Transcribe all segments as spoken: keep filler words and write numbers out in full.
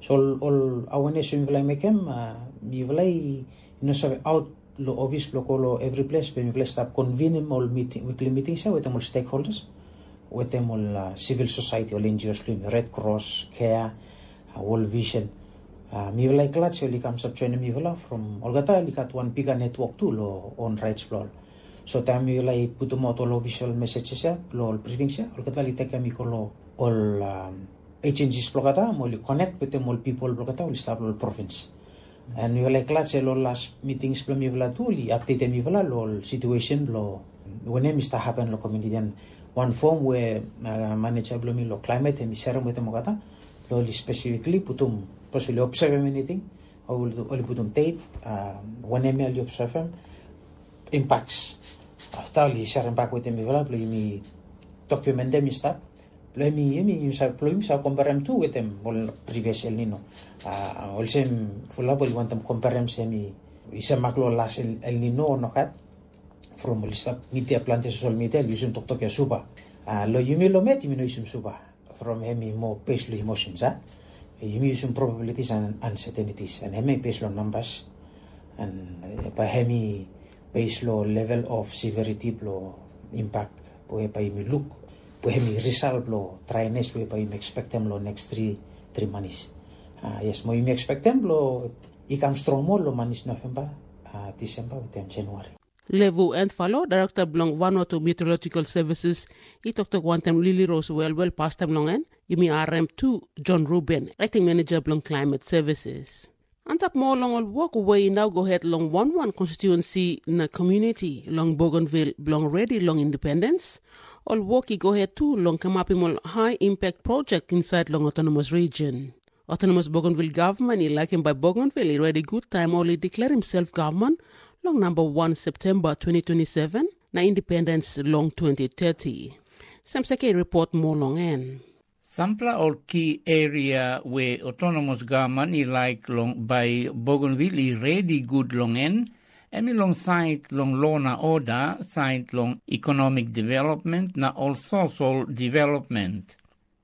So ol, ol awareness we mipela i mekim, uh, mipela i no save aut lo office bilong go lo every place, pe mipela i stap convenim ol meeting, weekly meetings ya wetem ol stakeholders, wetem ol uh, civil society, ol N G Os, Red Cross, Care, uh, World Vision. Uh, mipela i glad se ol i kam stap joinim mipela from olgeta ol i gat wan bigger network tu lo on rights bilong ol. So taim mipela i putum out ol official messages ya, lo ol briefings ya, olgeta ol i tekem i go lo ol um, agencies bilong olgeta, mo ol i connect wetem ol people bilong olgeta, ol i stap lo ol province. And mipela i glad se lo last meetings bilong mipela tu, ol i updatem mipela lo ol situation bilong wanem i stap happen lo community. And one form we uh, manager bilong mi lo climate em i sharim wetem olgeta, lo ol i specifically putum, pas ol i observem anything, ol ol i putum date, uh, wanem ya ol i observem, impacts. After ol i sharim bak wetem mipela, bilong yumi documentem i stap. Bilong yumi, yumi, yumi sa, bilong yumi sa komparem tu wetem ol previous El Nino. Uh, olsem, fulap ol i wantem komparem se mi, i sa mak lo last El, El Nino o nogat. From ol i stap media, planti social media, ol i usum toktok ya supa. Uh, lo yumi lo met, yumi no usum supa. From em i mo based lo emotions, ha? Yumi usum probabilities and uncertainties, and em i based lo numbers. And uh, by em i based lo level of severity lo impact, whereby yumi look, where em i result lo dryness, whereby yumi expectem lo next three, three months. Uh, yes, mo yumi expectem lo i kam strong moa lo manis November, uh, December, wetem January. Levu Entfalo, Director bilong Vanuatu Meteorological Services, i toktok wantaim Lili Rose Welwel, pastaim long en, yumi harim tu John Ruben, Acting Manager bilong Climate Services. Antap moa long ol wok we i nau go het long wan wan konstituensi na community long Bougainville bilong redi long independence, ol wok i go het tu long kamapim ol high impact project inside long autonomous region. Autonomous Bougainville Government i laikim bai Bougainville i redi gut taim ol i declarim self government long number one September twenty twenty-seven na independence long twenty thirty. Semseke i report moa long en. Sampela ol ki eria we autonomous government i laik long bai Bougainville i redi gut long en, em i long sait long lo na oda, sait long economic development na ol sosol development.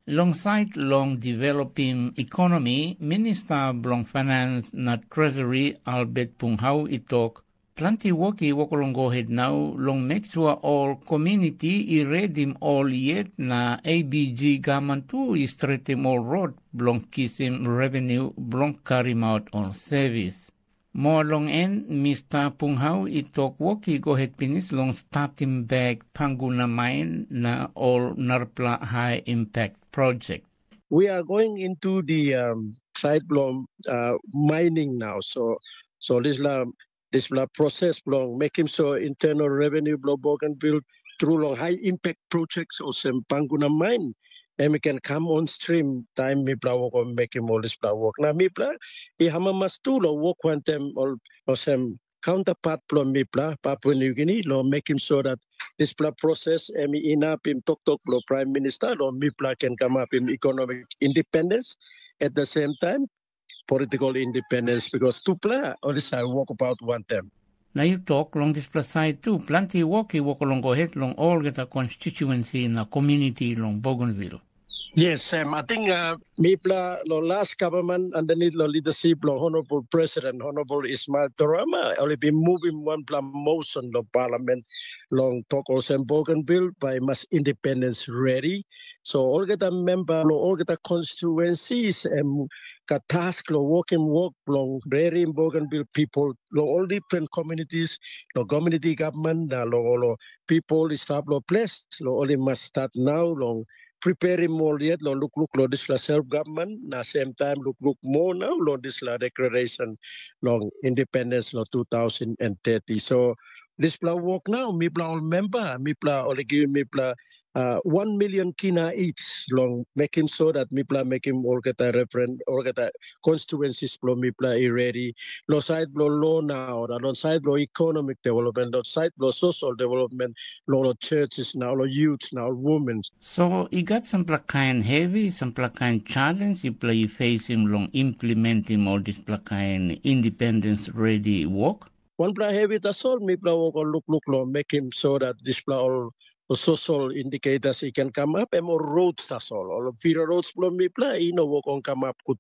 Long sait long developim ekonomi, Minista bilong Finans na Treasury Albert Punghau i tok, planti wok i wok long go het nau long make sure ol community i redim ol yet na A B G government tu i stretim ol rot bilong kisim revenue bilong karim out ol service. Moa long en, Mista Punghau i tok wok i go het pinis long statim bek Panguna main na ol narapela high impact project. We are going into the um, side blom uh, mining now. So, so this la this la process blong making sure internal revenue blong Bougainville through long high impact projects or some Panguna mine, and we can come on stream time mipla work on making all this work. Now mipla, I hamamas tu lo work wantem or, or some counterpart blong mipla, Papua New Guinea, lo making sure that this process em inapim toktok lo Prime Minister lo mipla can come up in economic independence. At the same time, political independence because tupela ol i save wokabaut wantaim. Na yu tok long dispela sait tu, planti wok i wok long go het long olgeta konstituensi na komuniti long Bougainville. Yes, Sam. I think uh, mipela lo last government underneath lo leadership lo Honorable President Honorable Ismail Torama, ol i bin moving wanpela motion lo parliament long tok olsem Bougainville by mas independence ready. So olgeta member lo olgeta constituencies em gat task lo wokim wok bilong redim Bougainville people long ol different communities, long community government na long ol people i stap long ples, long ol i mas stat nau long preparim ol yet long lukluk long dispela self government na sem taim lukluk moa nau long dispela declaration long independence long two thousand and thirty. So dispela wok nau mipela ol memba mipela ol i givim mipela uh, one million kina each long making sure that mipela making olgeta referendum, olgeta constituencies blo mipela i ready. Lo side blo law now, na lo side blo economic development, lo side blo social development, lo lo churches now, lo youths now, women. So i gat sampela kain heavy, sampela kain challenge yupela i facing long implementing all dispela kain independence ready work? Wanpela heavy tasol mipela wok ol lukluk long mekim so dat dispela ol social indicators i ken kamap, em ol roads tasol. Ol feeder roads bilong mipela i no wok ong kamap gut